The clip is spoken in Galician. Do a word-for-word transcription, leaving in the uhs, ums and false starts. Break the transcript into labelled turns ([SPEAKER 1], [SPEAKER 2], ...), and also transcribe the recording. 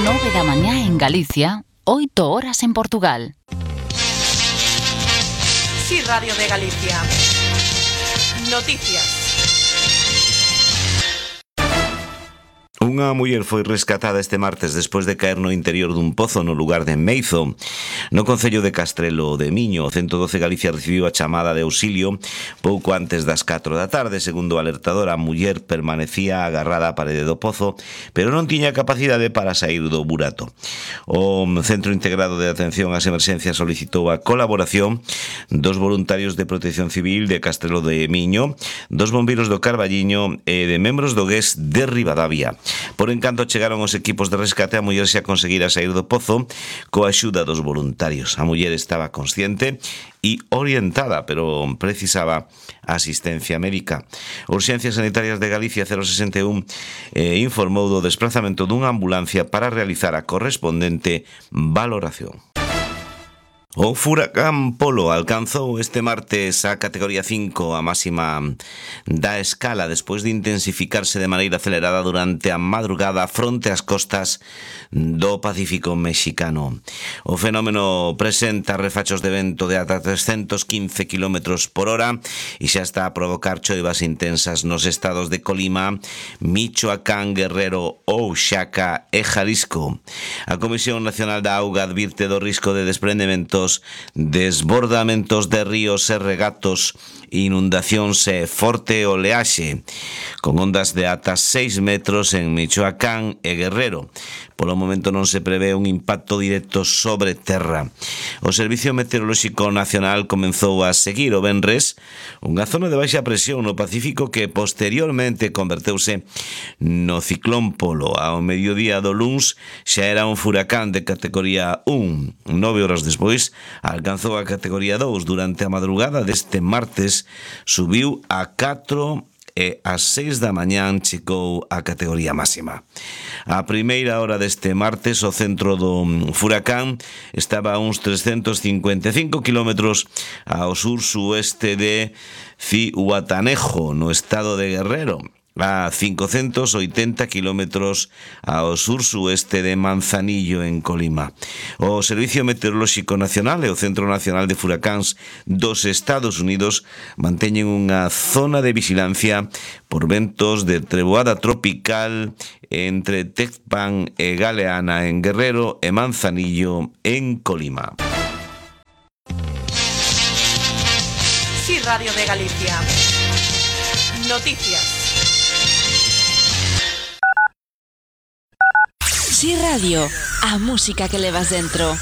[SPEAKER 1] nove da mañá en Galicia, oito horas en Portugal.
[SPEAKER 2] Sí, Radio de Galicia. Noticias.
[SPEAKER 3] Unha muller foi rescatada este martes despois de caer no interior dun pozo no lugar de Meizo. No concello de Castrelo de Miño, o ciento doce Galicia recibiu a chamada de auxilio pouco antes das catro da tarde. Segundo o alertador, a muller permanecía agarrada á parede do pozo, pero non tiña capacidade para sair do burato. O Centro Integrado de Atención ás Emerxencias solicitou a colaboración dos voluntarios de Protección Civil de Castrelo de Miño, dos bombeiros do Carballiño e de membros do G E S de Ribadavia. Por encanto chegaron os equipos de rescate, a muller xa conseguira sair do pozo coa axuda dos voluntarios. A muller estaba consciente e orientada, pero precisaba asistencia médica. Urxencias Sanitarias de Galicia cero sesenta e un eh, informou do desplazamento dunha ambulancia para realizar a correspondente valoración. O furacán Polo alcanzou este martes a categoría cinco, a máxima da escala, despois de intensificarse de maneira acelerada durante a madrugada fronte ás costas do Pacífico mexicano. O fenómeno presenta refachos de vento de ata trescentos quince kilómetros por hora e xa está a provocar choivas intensas nos estados de Colima, Michoacán, Guerrero, Oaxaca e Jalisco. A Comisión Nacional da Auga advirte do risco de desprendemento, desbordamentos de ríos e regatos, inundacións e forte oleaxe, con ondas de ata seis metros en Michoacán e Guerrero. Polo momento non se prevé un impacto directo sobre terra. O Servicio Meteorolóxico Nacional comenzou a seguir o venres unha zona de baixa presión no Pacífico que posteriormente converteuse no ciclón Polo. Ao mediodía do luns xa era un furacán de categoría un. Nove horas despois alcanzou a categoría dous. Durante a madrugada deste martes subiu a catro e ás seis da mañán chegou a categoría máxima. A primeira hora deste martes o centro do furacán estaba a uns trescentos cincuenta e cinco kilómetros ao sur-sueste de Zihuatanejo, no estado de Guerrero, a cincocentos oitenta kilómetros ao sur-sueste de Manzanillo, en Colima. O Servicio Meteorolóxico Nacional e o Centro Nacional de Furacáns dos Estados Unidos manteñen unha zona de vigilancia por ventos de treboada tropical entre Tecpan e Galeana en Guerrero e Manzanillo en Colima.
[SPEAKER 2] Sí, Radio de Galicia. Noticias.
[SPEAKER 1] Sí Radio, a música que levas dentro.